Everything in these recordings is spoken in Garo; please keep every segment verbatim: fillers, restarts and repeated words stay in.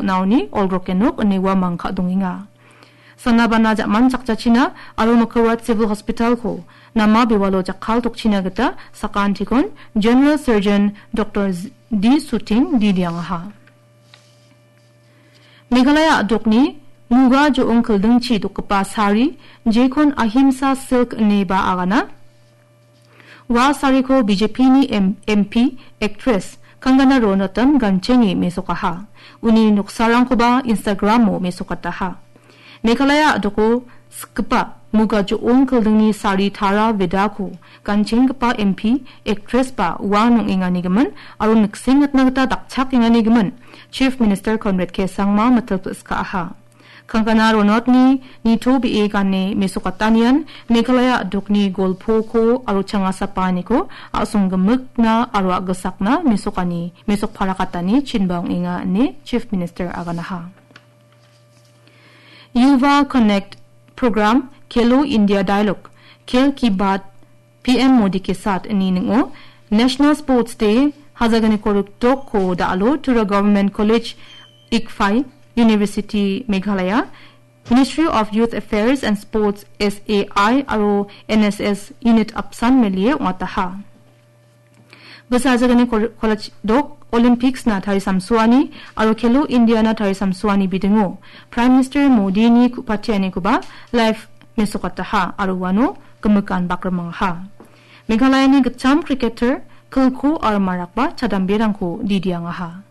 naoni olgroke nok ine uamang ka·dongenga. Sanabana ja·man chakjachina aro Makaroat Civil Hospital-ko nama bewalo jakkal tokchina gita sakantikon General Surgeon Doktor Z-, D Suting didiangaha. Meghalaya a·dokni muga jo·ong kildingchi dokgipa sari, jekon Ahimsa Silk ine ba agana. Ua sariko B J P-ni M-, M P, actress Kangana Ranaut-an ganchenge mesokaha. Uni noksarangkoba Instagram-o mesokataha. Meghalaya a·doko sikgipa muga jo·ong kildingni sari tara vedako ganchenggipa M P, actress-ba uan ong·enganigimin aro niksengatna gita dakchakenganigimin Chief Minister Conrad K Sangma mitil pil·skaaha. Kangana Ranaut-ni nitobee gane mesokatanian Meghalaya a·dokni golpoko aro changasapaaniko a·songgimikna aro a·gisakna mesokani, mesokparakatani chinba ong·enga ine Chief Minister aganaha. Yuva Connect Program, Khelo India Dialogue, Khel Ki Baat, P M Modi Ke Saath ine ning·o National Sports Day, hazaganiko rikdokko da·alo Tura Government College, Ickphai University, Meghalaya, Ministry of Youth Affairs and Sports, S A I, aro N S S Unit apsan melie ong·ataha. Bisa ajagani kol-, college dok Olympics-na tarisamsoani aro Khelo India-na tarisamsoani bidingo Prime Minister Modi-ni ku-, patianikoba live mesokataha aro uano gimikan bakrimangaha. Meghalaya-ni gitcham cricketer Kilko aro Marakba chadamberangko didiangaha.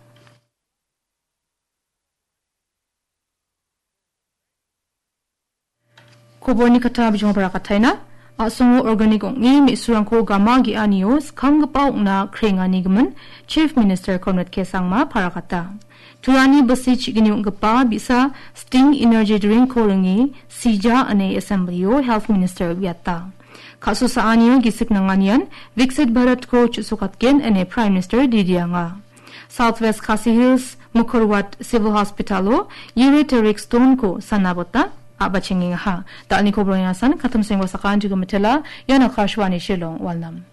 Koborni kata bijimo parakataina. A·songo organic ong·e me·surangko gama ge·anio skanggipa ong·na krenganigimin Chief Minister Conrad K Sangma parakata. Turani bisi chigini ong·gipa bi·sa Sting Energy Drink-ko ringe sija ine Assembly-o Health Minister uiata. Ka·sosaanio gisik nanganian Viksit Bharat-ko chu·sokatgen ine Prime Minister didianga. South West Khasi Hills Mukrohat Civil Hospital-o ureteric stone-ko sanabota a·bachengengaha. Dal·ni koborang asan katum sengwa sakan juga metela, ian Akashvani Shillong, Walnam.